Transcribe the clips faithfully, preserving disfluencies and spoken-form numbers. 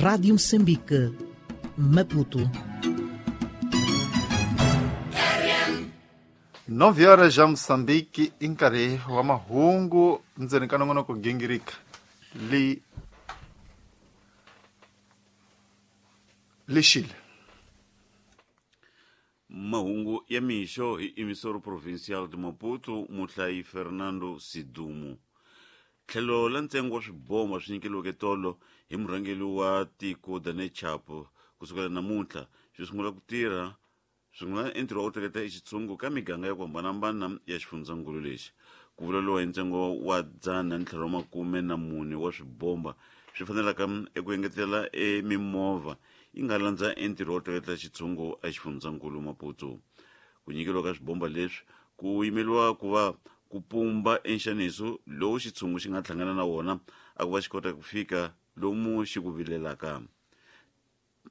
Rádio Moçambique, Maputo. Nove horas já Moçambique, em nkarhi wa mahungu ndzeni ka nongonoko gingirika li lixile. Mahungu ya mixo hi emissor provincial de Maputo, muhlayi Fernando Sidumo. Tlhelo la ntsengo wa swibomba swi nyikeliweke tolo hi murhangeri wa tiko Daniel Chapo kusukela namuntlha swi sungula ku tirha sungula entirho wa ku tleketla exitshungu ka miganga ya ku hambanahambana ya xifundzankulu lexi. Ku vuleriwa hi ntsengo wa dzana ni ntlhanu wa makume na mune wa swibomba swi fanelaka eku engetela emimovha yi nga landza entirho wo tleketla xitshungu exifundzankulu Maputo. Ku nyikeriwa ka swibomba leswi ku yimeriwa ku va ku pumba enxaniso lowu xitshungu xi nga hlangana na wona a ku va xi kota ku fika lomu xi ku vilelaka.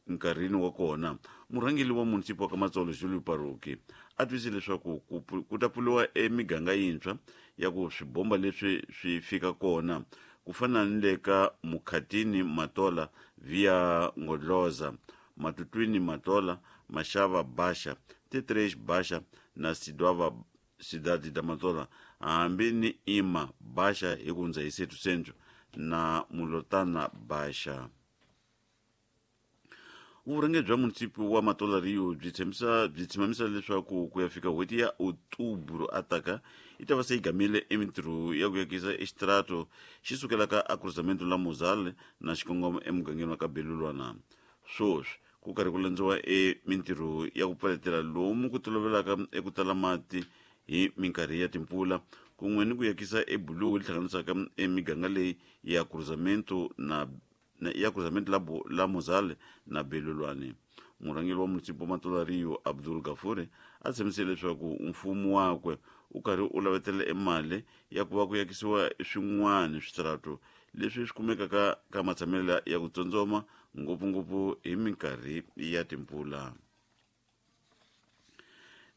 Nkarhini wa kona murhangeri wa munisipa wa ka Matsolo Julio Paroki a twisise leswaku ku ta pfuriwa emiganga yintshwa ya ku swibomba leswi swi fika kona ku fana ni le ka Mukhatini Matola via Ngodloza, Matutwini Matola, Mashava Basha, Tetresh Basha na Sidwava Cidade da Matola, hambi ni Ima Basha hi ku hundza hi Setu Centro na Mulotana Basha. Vurhangeri bya munisipi wa Matola Rio byi tshembisa byi tshemamisa leswaku ku ya fika n'hweti ya Outubro ataka yi ta va se yi gamile emintirho ya ku yakisa extrato xi sukelaka a cruzamento la Mozale na xikongomo emugangeni wa ka Belulwana. Swoswi ku karhi ku landziwa emintirho ya ku pfaletela lomu ku tolovelaka eku tala mati hi minkarhi ya timpfula kun'we ni ku yakisa ebuluwu li hlanganisaka emiganga leyi ya cruzamento na ya cruzamento la, la Mozale na Belulwane. Murhangeri wa munisipi wa Matola Rio Abdul Gafure a tshembisile leswaku mfumo wakwe u karhi u lavetela emali ya ku va ku yakisiwa swin'wana switrato leswi swi kumekaka ka matshamelo ya ku tsondzoma ngopfungopfu hi minkarhi ya timpfula.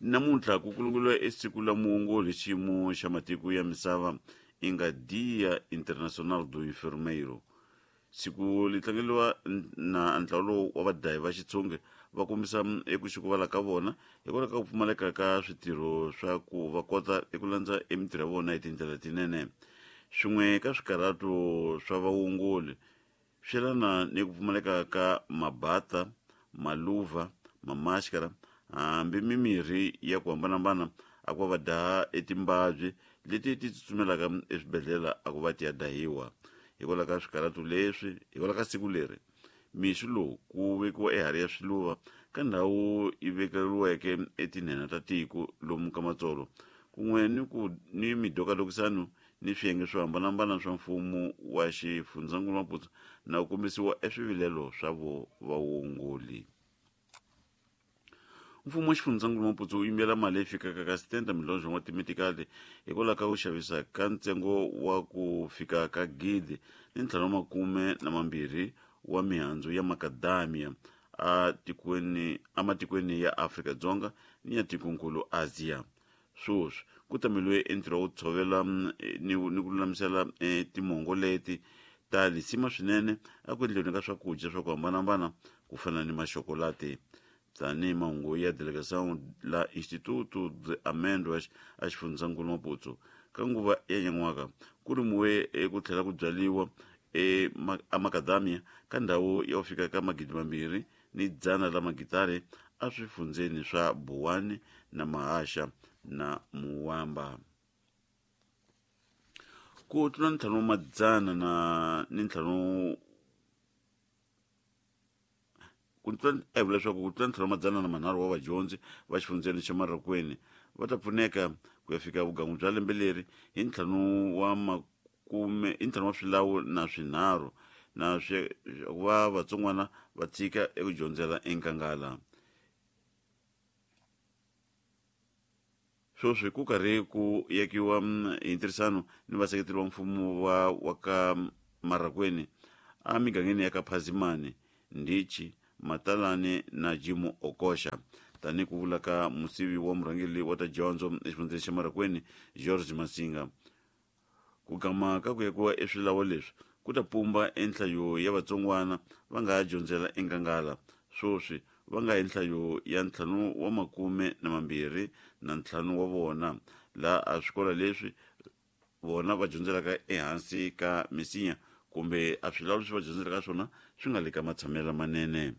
Namuntlha ku kulunguriwa esiku la muongori xiyimo xa matiko ya misava i nga Dia Internacional do Enfermeiro. Siku li tlangeriwa na ntlawa lowu wa vadlayi va xitshunge va kombisa eku xikuvala ka vona hikwalaho ka ku pfumaleka ka switirho swa ku va kota eku landza emitirho ya vona hi tindlela tinene. Swin'we ka swikarhato swa vaongori swi yelana ni ku pfumaleka ka mabata, maluva, mamaskara hambi mimirhi ya ku hambanahambana a ku va va daha etimbabyi leti ti tsutsumelaka eswibedhlele a ku va ti ya dahiwa. Hikwalaho ka swikarhato leswi hikwalaho ka siku leri mixo lowu ku vekiwa ehari ya swiluva ka ndhawu yi vekeriweke etinhena ta tiko lomu ka Matsolo kun'we ni ku ni midokadokisano ni swiyenge swo hambanahambana swa mfumo wa xifundzankulu Maputo na ku kombisiwa eswivilelo swa vo vaongoli. Mfumo wa xifundzankulu Maputo wu yimela mali leyi fikaka ka sitenta miliyoni wa timetikali hikwalaho ka ku xavisa ka ntsengo wa ku fika ka gidi ni ntlhanu wa makume na mambirhi wa mihandzu ya makadamia a tikweni ematikweni ya Afrika-Dzonga ni ya tikonkulu Asia. Swoswi ku tameliwe entirho wa ku tshovela ni ni ku lulamisela timongo leti ta lisima swinene eku endleni ka swakudya swa ku hambanahambana ku fana ni maxokolati. Tanihi mahungu ya delegação la Instituto de Amêndoas a xifundzankulu Maputo ka nguva ya nyan'waka ku rimiwe eku tlhela ku byariwa emakadamia ka ndhawu ya ku fika ka magidi mambirhi ni dzana la magitari eswifundzeni swa Buwani na Mahasha na Muwamba. Ku tlula ntlhanu wa madzana na ni ntlhanu ku tlula a vula leswaku ku tlula ntlhanu wa madzana na manharhu wa vadyondzi va xifundzeni xa Marokweni va ta pfuneka ku ya fika vugangu bya lembe leri hi ntlhanu wa makume hi ntlhanu wa swilawu na swinharhu na swi va vatsongwana va tshika eku dyondzela enkangala. Swoswi ku karhi ku yakiwa hi ntirhisano ni vaseketeri va mfumo wa wa ka Marakweni emigangeni ya ka Phazimani, Ndichi, Matalani na Jimu Okosha. Tanihi ku vula ka musivi wa murhangeri wa ta dyondzo exifundzeni xa Marakweni George Masinga, ku gama ka ku yakiwa eswilawo leswi ku ta pumba enhlayo ya vatsongwana va nga ha dyondzela enkangala swoswi va nga enhlayo ya ntlhanu wa makume na mambirhi na ntlhanu wa vona laha a swikolo leswi vona va dyondzelaka ehansi ka misinya kumbe a swilawulo leswi va dyondzelaka swona swi nga le ka matshamelo lamanene.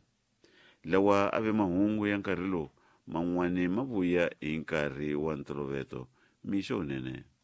Lawa a ve mahungu ya nkarhi lowu man'wani ma vuya hi nkarhi wa ntoloveto. Mixo wunene.